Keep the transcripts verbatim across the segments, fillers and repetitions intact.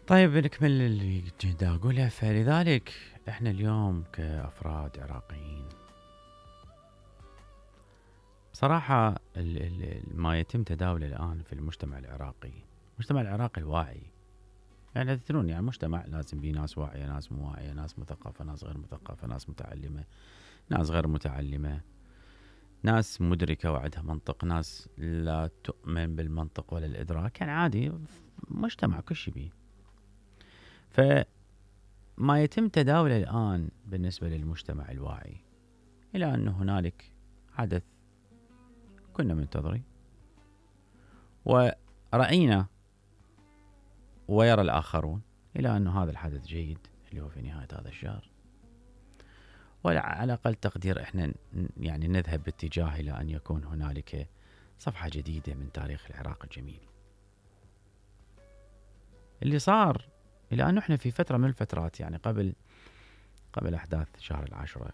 طيب نكمل اللي كنت اقوله. فلذلك احنا اليوم كافراد عراقيين بصراحة ال ال ما يتم تداوله الان في المجتمع العراقي، المجتمع العراقي الواعي، يعني تدرون يعني مجتمع لازم بيه ناس واعية، ناس مو واعية، ناس مثقفة، ناس غير مثقفة، ناس متعلمة، ناس غير متعلمة، ناس مدركة وعندها منطق، ناس لا تؤمن بالمنطق ولا الإدراك، يعني عادي مجتمع كل شي بيه. فما يتم تداوله الآن بالنسبة للمجتمع الواعي إلى أن هنالك حدث كنا منتظرين ورأينا ويرى الآخرون إلى أن هذا الحدث جيد اللي هو في نهاية هذا الشهر، وعلى أقل تقدير إحنا يعني نذهب باتجاه إلى أن يكون هنالك صفحة جديدة من تاريخ العراق الجميل. اللي صار إلى أنه إحنا في فترة من الفترات، يعني قبل قبل أحداث شهر العاشرة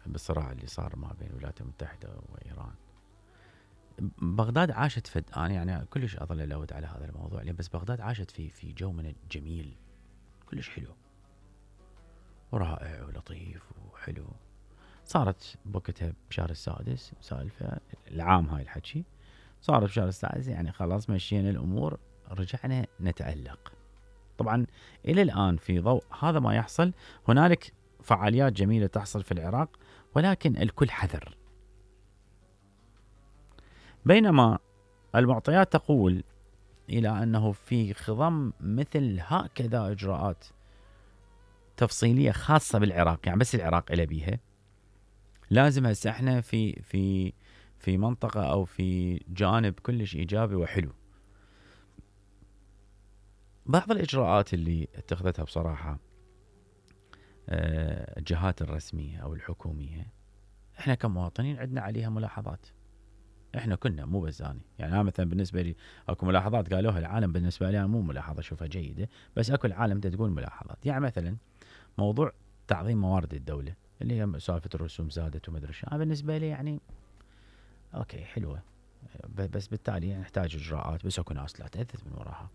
بالصراع اللي صار ما بين الولايات المتحدة وإيران، بغداد عاشت فد أنا يعني كلش أظل ألود على هذا الموضوع، بس بغداد عاشت في في جو من الجميل كلش حلو ورائع ولطيف وحلو. صارت بوقتها بشهر السادس سالفة العام هاي الحكي، صارت بشهر السادس يعني خلاص مشينا الأمور، رجعنا نتألق. طبعا إلى الآن في ضوء هذا ما يحصل هنالك فعاليات جميلة تحصل في العراق، ولكن الكل حذر. بينما المعطيات تقول إلى أنه في خضم مثل هكذا إجراءات تفصيلية خاصة بالعراق، يعني بس العراق إلى بيها، لازم هسه احنا في في في منطقة أو في جانب كلش إيجابي وحلو. بعض الإجراءات اللي اتخذتها بصراحة الجهات الرسمية أو الحكومية، احنا كمواطنين عندنا عليها ملاحظات. احنا كنا مو بس أنا، يعني أنا مثلا بالنسبة لي اكو ملاحظات قالوها العالم، بالنسبة لي أنا مو ملاحظة اشوفها جيدة، بس اكو العالم تقول ملاحظات. يعني مثلا موضوع تعظيم موارد الدولة اللي هي سالفة الرسوم زادت وما ادري شو، انا بالنسبة لي يعني اوكي حلوة، بس بالتالي نحتاج اجراءات، بس اكو ناس لا تأثث من وراها،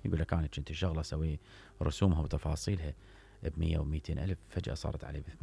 يقول لك انا كنت شغله اسوي رسومها وتفاصيلها ب مية و200 الف، فجأة صارت علي ب